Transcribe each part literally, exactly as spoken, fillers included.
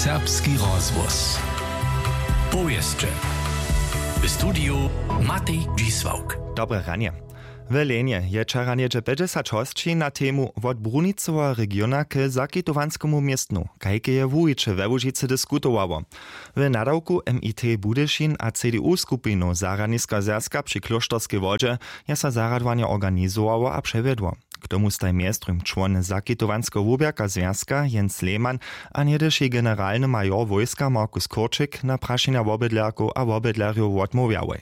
Serbski rozhłos. Powěsće. W studiju Matej Dźisławk. Dobre ranje. W Lenje je wčera něhdźe pjećdźesać hosći na temu wot brunicoweho regiona k zakitowanskemu městnu, kajke je wuwiće we Łužicy diskutowało. W nadawku M I T Budyšin a C D U skupinow Zarjadniska zwjazka při Klóšterskej wodźe je so zarjadowanje organizowało a přewjedło. K tomu staj mjez druhim čłon zakitowanskeho wuběrka zwjazka Jens Lehmann a něhdyši generalny major wójska Markus Kurčik na prašenja wobydlerkow a wobydlerjow wotmołwjałoj.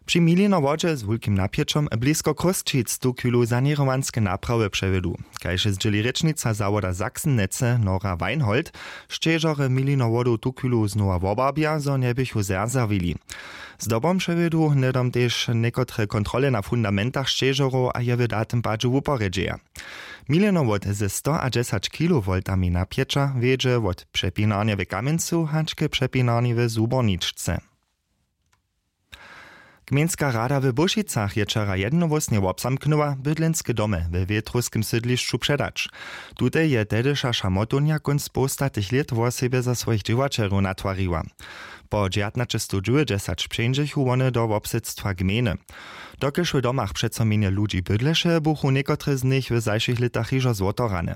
Při Milinowodźe z wulkim napjećom blisko Chrósćic tuchwilu saněrowanske naprawy přewjedu. Kaž je zdźěli rěčnica zawoda Sachsen-Netze Nora Weinhold, šćežorje Milinowodow tuchwilu znowa wobarbja, zo njeběchu zerzerwili. Zdobom přewjedu hnydom tež někotre kontrole na fundamentach šćežorow a je w datym padźe wuporjedźeja. Milinowod ze stoadźesać kilowoltami napjeća wjedźe wot přepinarnje w Kamjencu hač k přepinarnje w Zborničce. Gmejnska rada w Bóšicach je wčera jednohłósnje wobzamknyła, bydlenske domy we wětrowskim sydlišću předać. Tute je tehdyša Šamotownja kónc połstatych lět wosebje za swojich dźěłaćerjow natwariła. Po dźwjatnaćestowdźewjećdźesać přeńdźechu wone do wobsydstwa gmejny. Dokelž w domach přeco mjenje ludźi bydleše, buchu někotre z nich w zašłych lětach hižo zwotorane.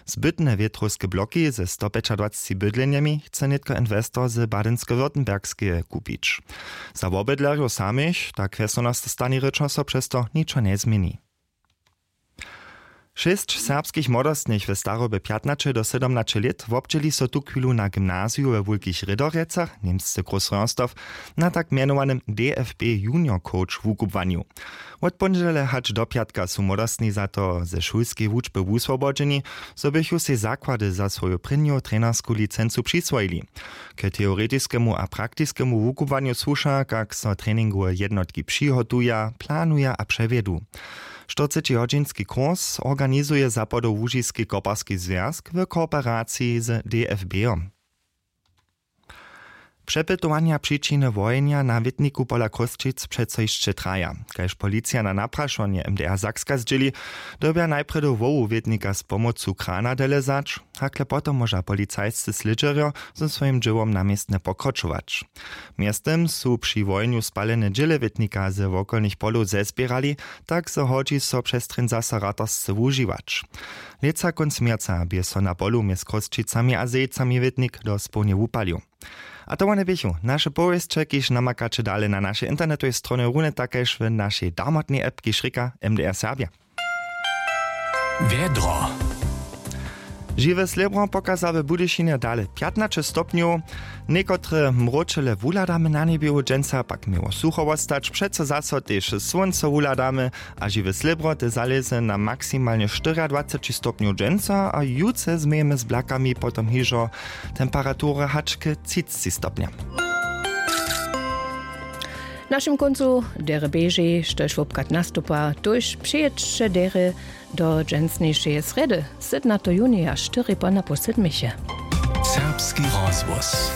Zbytne wětrowske bloki ze stopjećadwacci bydlenjemi chce nětko inwestor z Badensko-Württembergskeje kupić. Za wobydlerjow samych, tak wjesnjenosta stanje rěčo, so přez to ničo njezměni. Šěsć serbskich młodostnych w starobje pjatnaće do sydomnaće lět wobdźěli so tuchwilu na gymnaziju we Wulkich Rědorjecach, němsce Großröhrsdorf, na tak mjenowanym D F B Junior Coach wukubłanju. Wot póndźele hač do pjatka su młodostni za to ze šulskeje wučby wuswobodźeni, zo běchu sej zakłady za swoju prěnju trenersku licencu přiswojili. K teoretiskemu a praktiskemu wukubłanju słuša, kak so treningowe jednotki přihotuja, planuja a přewjedu. Štyrcećihodźinski kurs organizuje Zapadołužiski koparski zwjazk w kooperaciji z D F B-om. Přepytowanja přičiny wohenja na wětniku pola Chrósćic přeco hišće traja. Kaž policija na naprašowanje M D R Sakska zdźěli, dyrbja najprjedy hłowu wětnika z pomocu krana dele wzać, hakle potom móža policajscy slědźerjo ze swojim dźěłom na městnje pokročować. Mjeztym su při wohenju spalene dźěle wětnika ze wokolnych polow zezběrali, tak zo hodźi so přez trěn zaso ratarsce wužiwać. Lětsa kónc měrca bě so na polu mjez Chrósćicami a Zejcami wětnik dospołnje wupalił. A to wone běchu naše powěsće, kiž namakaće dale na našej internetowej stronje, runje tak kaž w našej damotnej app, kiž rěka M D R Serbja. Wjedro. Žiwe slěbro pokaza w Budyšinje dale pjatnaće stopnjow. Někotre mróčele wuhladamy na njebju, dźensa pak měło sucho wostać, přeco zaso tež słónco wuhladamy a žiwe slěbro te zalěze na maksimalnje štyriadwaceći stopnjow dźensa a jutře změjemy z blakami potom hižo temperatury hač k třicci stopnjam. W našim kóncu derje běži, štož wobchad nastupa, tuž přijědźće derje do dźensnišeje srjedy, sydomnateho junija, štyri ponapoł sydmiche. Serbski rozhłos.